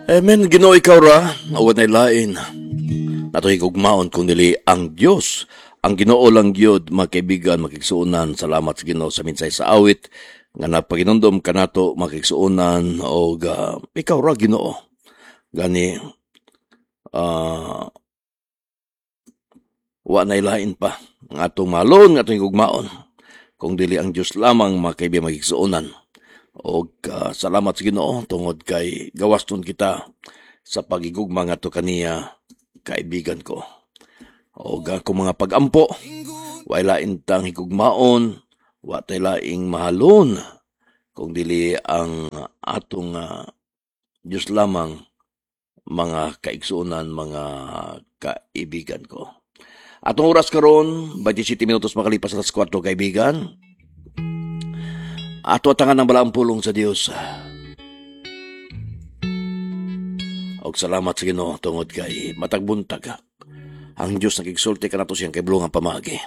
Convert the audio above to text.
Amen. Ginoo, ikaw ra, wa nay lain. Nato higugmaon kung dili ang Dios. Ang Ginoo lang gyud, mga kaibigan, mga kaigsuonan. Salamat sa Ginoo sa minsay sa awit nga napaginundom kanato, mga kaigsuonan, og ikaw ra, Ginoo. Gani wa nay lain pa ang atong mahalon, nga atong higugmaon kung dili ang Dios lamang, mga kaibigan, mga kaigsuonan. Og salamat sa Ginoo tungod kay gawaston kita sa pagigugma ngadto kaniya, kaibigan ko. Og akong mga pagampo, way lain tang higugmaon, wa tay laing mahalon kung dili ang atong Diyos lamang, mga kaigsuonan, mga kaibigan ko. Atong oras karon, 27 minutos makalipas alas 4, kaibigan. Ato atangan ang balaang pulong sa Dios. Og salamat sa Ginoo tungod kay matag buntag ang Dios nagigsulti kanato siyang kaibulongang pamaagi.